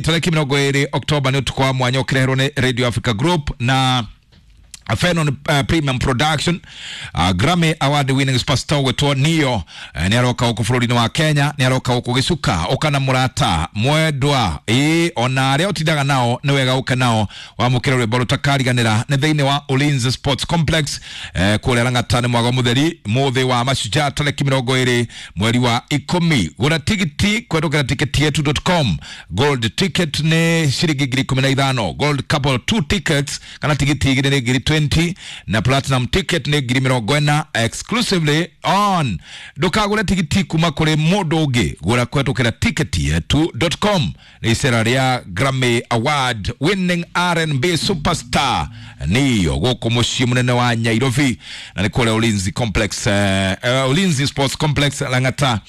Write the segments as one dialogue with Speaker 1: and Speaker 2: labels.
Speaker 1: Tarĩki 20 Oktoba nĩ ũtukũ wa mwanya ũkĩreherwo nĩ Radio Africa Group na Fenon Premium Production. Grammy Award winning superstar gwĩtwo Neo nĩ aroka gũkũ bũrũri-inĩ wa Kenya, nĩ aroka gũkũ gĩcuka ũka na mũrata mwendwa, ĩĩ ona arĩa ũtindaga nao nĩ wega ũke nao wamũkĩre rwĩmbo rũtakariganĩra. Nĩ thĩinĩ wa Ulinzi Sports Complex kũrĩa Lang'ata, nĩ mwago mũtheri mũthĩ wa mashujaa tarĩki 20 mweri wa 10. Gũra tigiti kũhetũkĩra ticketyetu.com. Gold ticket nĩ ciringi 15,000, gold couple 2 tickets kana tigiti 2 nĩ 20,000 na platinum ticket nĩ 40,000 exclusively on. Ndũkagũre tigiti kuma kũrĩ mũndũ ũngĩ, gũra kũhetũkĩra ticketyetu.com. Nĩ icera rĩa Grammy Award winning R&B superstar niyo gũkũ mũciĩ mũnene wa Nairobi na nĩ kũrĩa Ulinzi Complex, Ulinzi Sports Complex Lang'ata,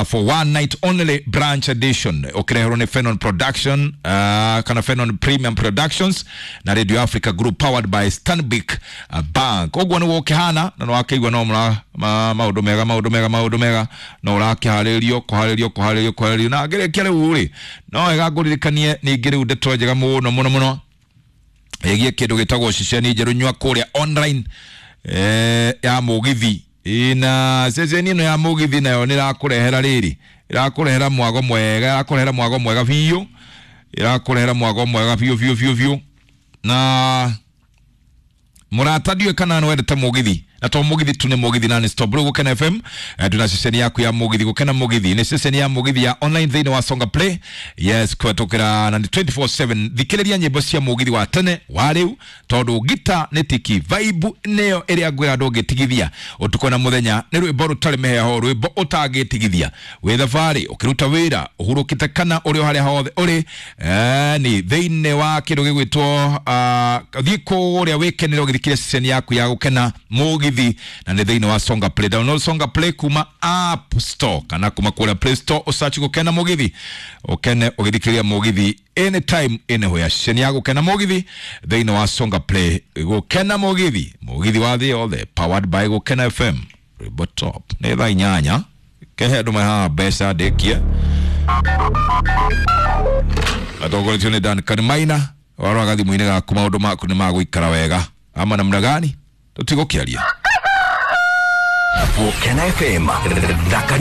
Speaker 1: for one night only branch edition, ũkĩreherwo nĩ Fenon Production kana Fenon Premium Productions na Radio Africa Group, powered by Stanbic Bank. Ũguo nĩguo ũkĩhana na nĩwakĩigua no mũra maũndũ mega, maũndũ mega, maũndũ mega, no ũrakĩharĩrio kũharĩrio kũharĩrio kũharĩrio na ngĩrĩkia rĩu rĩ, no wega ngũririkanie ningĩ rĩu ndeto njega mũno mũno mũno ĩgiĩ kĩndũ gĩtagwo ceceni njerũ nyua kũrĩa online ya mũgithi. Ĩ, na ceceni ĩno ya mũgithi nayo nĩ ĩrakũrehera rĩrĩ, ĩrakũrehera mwago mwega, ĩrakũrehera mwago mwega biũ, ĩrakũrehera mwago mwega biũ biũ biũ biũ. Na mũrata, ndiũĩ kana nĩ wendete mũgithi, na to mũgithi tu, nĩ mũgithi na nĩ stop. Rĩu Gũkena FM twĩna ceceni yaku ya mũgithi. Gũkena Mũgithi nĩ ceceni ya mũgithi ya online thĩinĩ wa Songa Play, yes, kũhetũkĩra na nĩ 24/7. Thikĩrĩria nyĩmbo cia mũgithi wa tene wa rĩu, tondũ ngita nĩ tiki vibe nĩyo ĩrĩa ngwĩra ndũngĩtigithia ũtukũ na mũthenya. Nĩ rwĩmbo rũtarĩ mĩheho, rwĩmbo ũtangĩtigithia wĩ thabarĩ, ũkĩruta wĩra, ũhurũkĩte, kana ũrĩ o harĩa hothe ũrĩ, ni thĩinĩ wa kĩndũ gĩgwĩtwo thiĩ kũrĩa wĩkenere ũgĩthikĩrĩria ceceni yaku ya Gũkena Mũgithi, na nĩ thĩinĩ wa Songa Play. Download Songa Play kuma App Store kana kuma kũrĩa Play Store, ũsearch Gũkena Mũgithi, ũkene ũgĩthikĩrĩria mũgithi anytime anywhere. Ceceni ya Gũkena Mũgithi thĩinĩ wa Songa Play. Gũkena Mũgithi, mũgithi wa thĩ yothe, powered by Gũkena FM. Rwĩmbo top. Nĩ thaa 8 kehe andũ mahaha mbeca ndĩkie atongoretio nĩ Duncan Maina. Waroraga thimũ-inĩ gaku, maũndũ maku nĩ magũikara wega ama namna gani? Tũtigũkĩaria.
Speaker 2: Gũkena FM thaka.